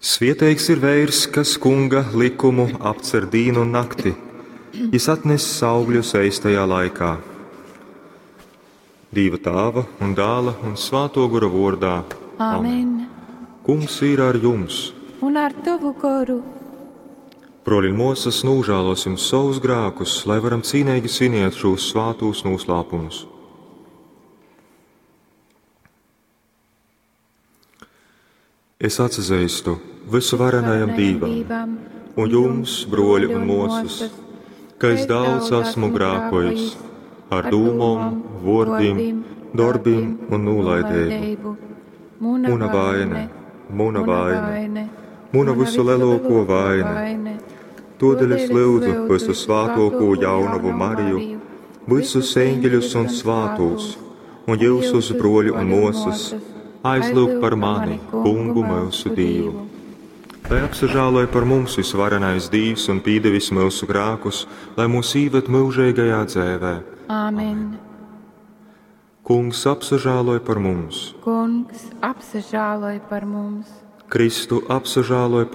Svieteigs ir veirs, kas kunga likumu apcer dīnu un nakti. Jis atness augļus eistajā laikā. Dīva tāva un dāla un svāto gora vordā. Amen. Kungs ir ar jums. Un ar tavu goru. Broļi un mosas, nožēlosim savus grēkus, lai varam cīnīgi svinēt šos svātos noslēpumus. Es atzīstu visuvarenajam Dievam un jums, broļi un mosas, ka es daudz esmu grēkojis ar dūmom, vārdiem, darbiem un nolaidību. Muna vaina, muna vaina, muna visu lielāko vaina. Todēļ es lūdzu visu svātoko jaunavu Mariju, visus eņģeļus un svātos, un jūsus broļu un mosas, aizlūgt par mani, kungu mūsu Dievu. Lai apsažāloja par mums visvarenais Dievs un pīdevis mūsu grēkus, lai mūs īved mūžīgajā dzēvē. Āmen. Kungs apsažāloja par mums. Kungs apsažāloja par mums. Kristu apsažāloja par.